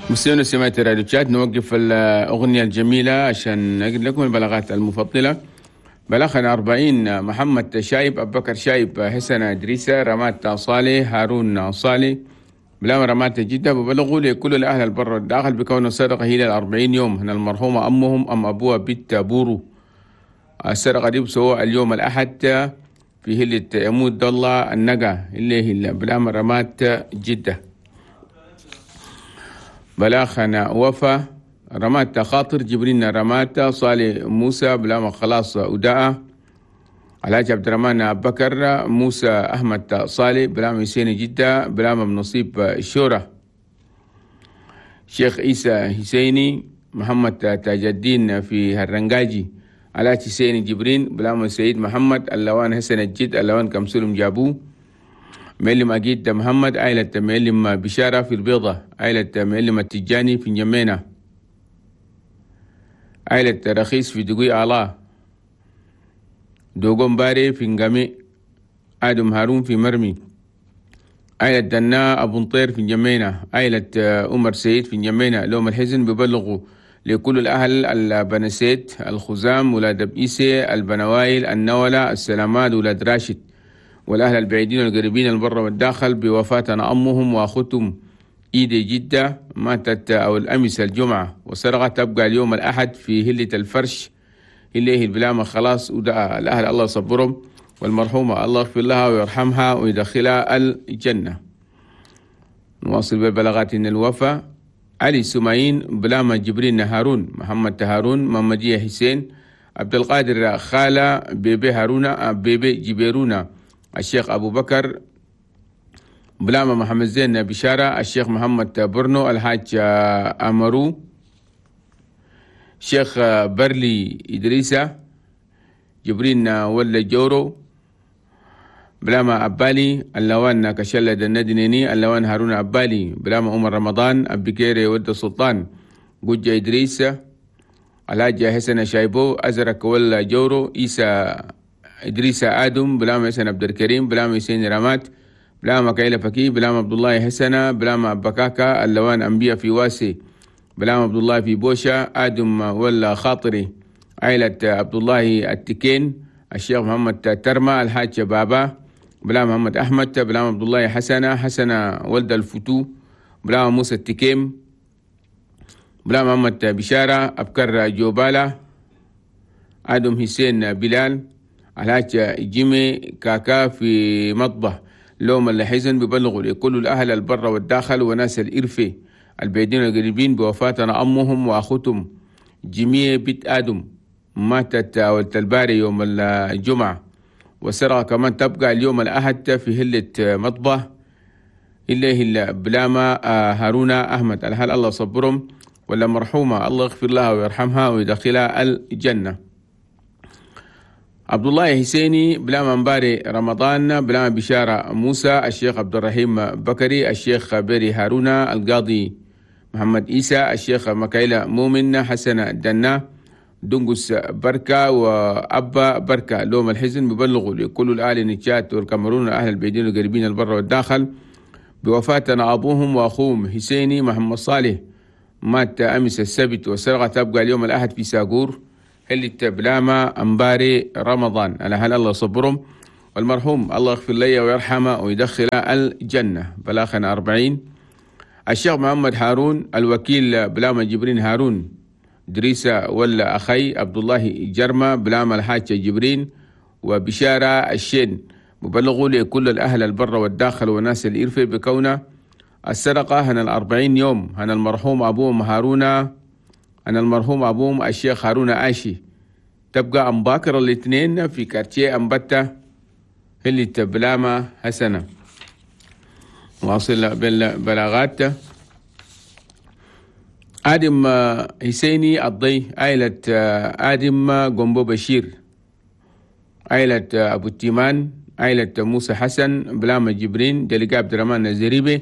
مستمعينا سمعت راديو تشاد، نوقف الأغنية الجميلة عشان نقل لكم البلاغات المفضلة. بلاغنا 40 محمد شايب، أبو بكر شايب، حسن إدريسة، رمات صالح، هارون صالح، بلا رمات جدة، ببلغوا لكل الأهل البر والداخل بكون السرقة هي 40 يوم. هنا المرحومة أمهم أم أبوها بنت بورو. السرقة دي بسوى اليوم الأحد في هلة يمود الله النقا اللي هي بلا رمات جدة. بلاخنا وفا رمات خاطر، جبرين رمات صالح موسى، بلا خلاص أداء الحاج عبد الرحمن أبو بكر، موسى أحمد صالح، بلا حسين جدة، بلا نصيب الشورى، شيخ عيسى حسيني، محمد تاج الدين في هرنجاجي، الحاج حسين جبرين، بلا سيد محمد، اللوان حسن الجد، اللوان كمسلم جابو، معلم أجيد محمد، عائلة معلم بشارة في البيضة، عائلة معلم التجاني في جمينة، عائلة رخيص في دقوي آلا، دوغون باري في نقامي، آدم هارون في مرمي، عائلة دنا أبو نطير في جمينة، عائلة عمر سيد في جمينة. لوم الحزن ببلغوا لكل الأهل البنسيت، الخزام، ولاد بإيسي، البنوايل، النولة، السلامات، ولاد راشد، والأهل البعيدين والقريبين البر والداخل بوفاتنا أمهم وأخوتهم إيدي جدة، ماتت أو الأمس الجمعة، وسرقة تبقى اليوم الأحد في هلة الفرش اللي هي البلامة خلاص. ودعا الأهل الله يصبرهم، والمرحومة الله يغفر لها ويرحمها ويدخلها الجنة. نواصل بالبلاغات. إن الوفا علي سمايين، بلامة جبرين هارون، محمد هارون، محمدية حسين، عبد القادر خالة، بيبي هارونا، بيبي جبيرونا، الشيخ أبو بكر، بلامة محمد زين بشارة، الشيخ محمد برنو، الحاج أمرو، شيخ برلي إدريسة، جبرين ولا جورو، بلامة أبالي، اللوان كشلة الندنيني، اللوان هارون أبالي، بلامة عمر رمضان، أبيكيري ود السلطان، جوجة إدريسة، الحاج حسن شايبو، أزرق ولا جورو، إيسا إدريس آدم، بلامة حسن عبد الكريم، بلامة حسين رمات، بلامة كايلة فكي، بلامة عبد الله حسنة، بلامة بكاكا، اللوان أنبياء في واسي، بلامة عبد الله في بوشة، آدم ولا خاطري، عائلة عبد الله التكين، الشيخ محمد ترمى، الحاج بابا، بلامة محمد أحمد، بلامة عبد الله حسنة، حسنة ولد الفتو، بلامة موسى التكيم، بلامة محمد بشارة، أبكر جوبالة، آدم حسين بلال، الحاج جيمي كاكا في مطبخ. لوم الحزن ببلغوا لكل الأهل البر والداخل وناس الإرفي البعيدين والقريبين بوفاتنا أمهم وأخوتهم جيمي بنت آدم، ماتت ولد الباري يوم الجمعة، والسرقة كمان تبقى اليوم الأحد في هلة مطبخ اللي هي بلامة هارون أحمد. الهل الله صبرهم، ولا مرحومة الله يغفر لها ويرحمها ويدخلها الجنة. عبد الله حسيني، بلا مباري رمضان، بلا بشارة موسى، الشيخ عبد الرحيم بكري، الشيخ بيري هارون، القاضي محمد إيسى، الشيخ مكايلة مؤمن، حسن دنا، دنقس بركة، وأبا بركة. لوم الحزن ببلغوا لكل الأهل نتشات والكاميرون والأهل البعيدين والقريبين البر والداخل بوفاتنا أبوهم وأخوهم حسيني محمد صالح، مات أمس السبت، والسرقة تبقى اليوم الأحد في ساقور هل بلامة أمباري رمضان. على هل الله صبرهم، والمرحوم الله يغفر لي ويرحمه ويدخل الجنة. بلاخنا 40 الشيخ محمد هارون الوكيل، بلامة جبرين هارون، دريسة ولا أخي عبد الله جرمة، بلامة الحاج جبرين، وبشارة الشين. مبلغوا لكل الأهل البر والداخل وناس الإرفة بكونه السرقة هنا 40 يوم. هنا المرحوم أبوهم هارون، أنا المرحوم أبوهم الشيخ هارون آشي، تبقى أمباكر الاثنين في كارتيه أمبتة اللي تبلامة حسنة. واصل بالبلاغات. آدم حسيني الضي، عائلة آدم قنبو بشير، عائلة أبو التيمان، عائلة موسى حسن، بلامة جبرين، دلقاء عبد الرحمن الزريبي،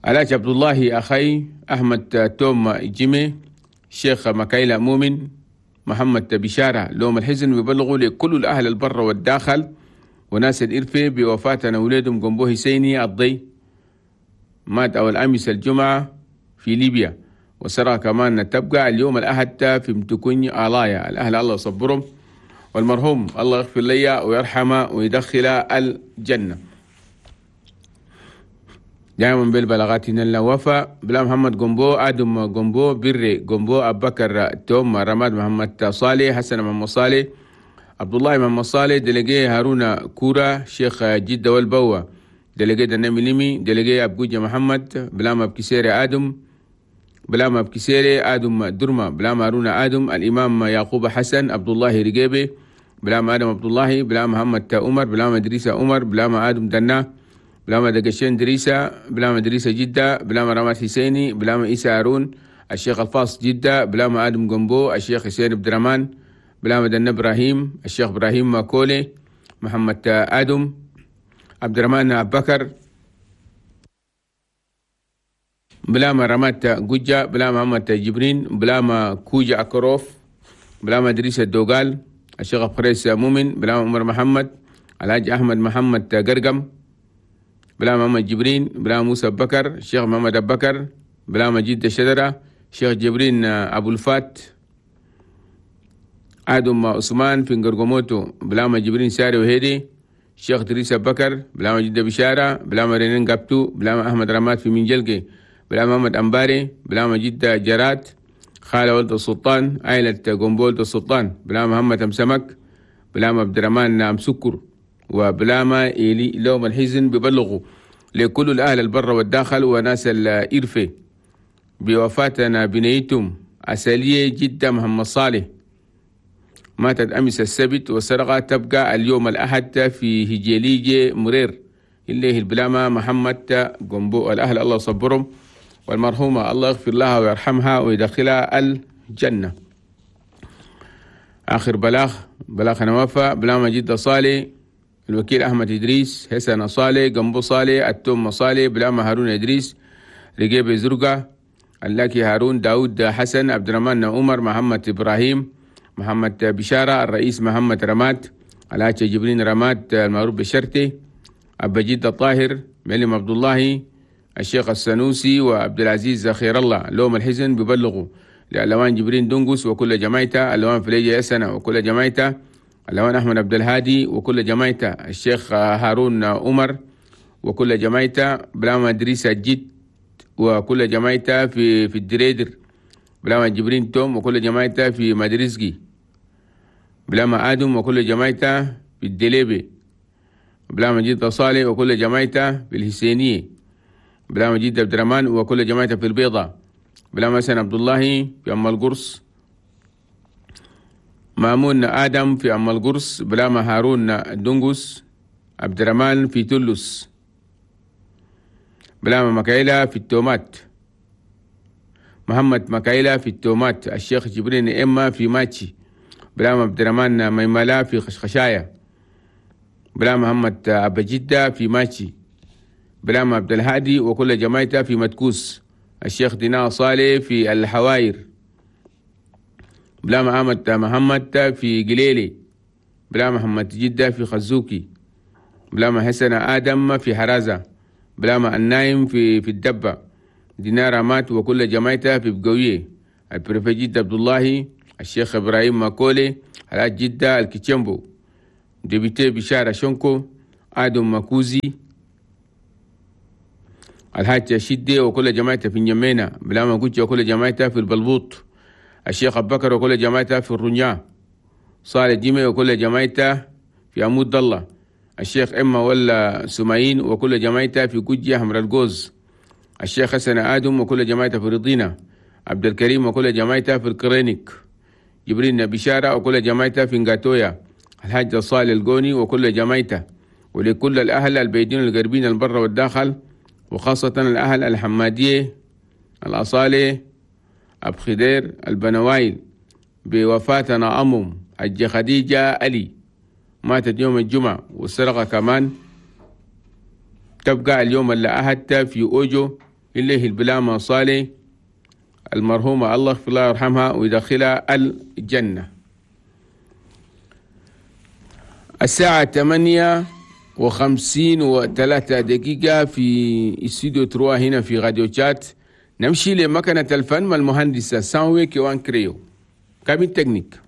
علاج عبد الله أخي، أحمد توم جيمي، شيخ مكايلة مؤمن، محمد بشارة. لوم الحزن بيبلغوا لكل الأهل البر والداخل وناس الإرفة بوفاتنا ولادهم قنبو حسيني الضي، مات أول أمس الجمعة في ليبيا، والسرقة كمان تبقى اليوم الأحد في متكوني آلايا. الأهل الله يصبرهم، والمرحوم الله يغفر لي ويرحمه ويدخله الجنة. دائما بالبلاغات الوفاء بلا محمد قنبو، آدم قنبو، بري قنبو، أبو بكر توم، رماد محمد صالح، حسن محمد صالح، عبد الله محمد صالح، دلقي هارون كورا، شيخ جدة والبوا، دلقي دنمي لمي، دلقي أبجوجة محمد، بلا ما بكسيري آدم، بلا ما بكسيري آدم درما، بلا ما هارون آدم، الإمام يعقوب حسن، عبد الله رقيبي، بلا ما آدم عبد الله، بلا محمد عمر، بلا ما إدريس عمر، بلا ما آدم دنا، بلا ما دقشين دريسة، بلا ما دريسة جدة، بلا ما رماد حسيني، بلا ما إيسى هارون، الشيخ الفاص جدة، بلا ما آدم قنبو، الشيخ حسين عبد الرحمن، بلا ما دنا إبراهيم، الشيخ إبراهيم ماكولي، محمد آدم، عبد الرحمن أبو بكر، بلا ما رمات جوجة، بلا ما محمد جبرين، بلا ما كوجة أكروف، بلا ما دريسة الدوغال، الشيخ فريس مؤمن، بلا ما عمر محمد، الحاج أحمد محمد قرقم، بلا محمد جبرين، بلا موسى بكر، الشيخ محمد أبو بكر، بلا مجيد الشجرة، الشيخ جبرين أبو الفات، آدم عثمان في قرقموتو، بلا ما جبرين ساري وهيدي، الشيخ دريس بكر، بلا ما جدة بشارة، بلا ما رنين قبتو، بلا ما أحمد رماد في منجلقي، بلا محمد أنباري، بلا ما جدة جرات، خالة ولد السلطان، عائلة قنبولة السلطان، بلا محمد أم سمك، بلا ما عبد الرحمن أم سكر، وبلا ما إلي لوم الحزن ببلغوا لكل الأهل البر والداخل وناس الإرفة بوفاتنا بنيتم أسالية جدة محمد صالح، ماتت أمس السبت والسرقة تبقى اليوم الأحد في هجيليجي مرير اللي هي البلامة محمد قنبو. الأهل الله صبرهم، والمرحومة الله يغفر لها ويرحمها ويدخلها الجنة. آخر بلاغ بلاغ نوافة بلامة جدة صالح، الوكيل أحمد إدريس، حسن صالح، قنبو صالح، التوم صالح، بلامة هارون إدريس، رقيب زرقة، اللاكي هارون، داود حسن، عبد الرحمن عمر، محمد إبراهيم، محمد بشارة، الرئيس محمد رماد، الحاج جبرين رماد المعروف بالشرطي، أبا جد الطاهر، معلم عبد الله، الشيخ السنوسي، وعبد العزيز خير الله. لوم الحزن ببلغوا لألوان جبرين دنقس وكل جماعته، ألوان فليجة يسنة وكل جماعته، ألوان أحمد عبد الهادي وكل جماعته، الشيخ هارون عمر وكل جماعته، بلاما إدريس الجد وكل جماعته في الدريدر، بلاما جبرين توم وكل جماعته في مدرسجي، بلاما آدم وكل جماعته في الدليبي، بلاما جد صالح وكل جماعته في الحسينية، بلاما جد عبد الرحمن وكل جماعته في البيضة، بلاما حسن عبد الله في أم القرص، مامون آدم في أم القرص، بلاما هارون دنقس، عبد الرحمن في تلس، بلاما مكايلة في التومات، محمد مكايلة في التومات، الشيخ جبرين إما في ماتشي، بلاما عبد الرحمن ميملا في خشخشاية، بلا محمد أبا جدة في ماتشي، بلاما عبد الهادي وكل جماعته في مدكوس، الشيخ دينا صالح في الحواير، بلا محمد محمد في قليلي، بلا محمد جدة في خزوكي، بلا حسن آدم في حرازة، بلا النايم في الدبة، دينار مات وكل جماعته في بقوية، البريفجيد عبد الله، الشيخ إبراهيم ماكولي، الحاج جدة الكيتشمبو، député بشارة شنكو، آدم ماكوزي، الحاج شدي وكل جماعته في نجمينا، بلا ما وكل جماعته في البلبوط، الشيخ أبو بكر وكل جماعته في الرنيا، صالح جيمي وكل جماعته في عمود الله، الشيخ إما ولا سمعين وكل جماعته في كوجيا حمر الجوز، الشيخ حسن آدم وكل جماعته في رضينا، عبد الكريم وكل جماعته في الكرينيك، جبرين بشارة وكل جماعته في نغاتويا، الحاج صالح الجوني وكل جماعته، ولكل الأهل البيدين القربين البر والداخل، وخاصة الأهل الحمادية، الأصالي، أبو خدير، البنوايل، بوفاتنا أمم حجة خديجة علي، ماتت يوم الجمعة، والسرقة كمان تبقى اليوم اللي أهدت في أوجو اللي البلامة صالح المرحومة الله يغفر لها ويرحمها ويدخلها الجنة. الساعة 8 و53 في استوديو trois هنا في راديو تشاد. نمشي لمكنة الفن مع المهندسة سانوي كيوان كريو، cabine technique.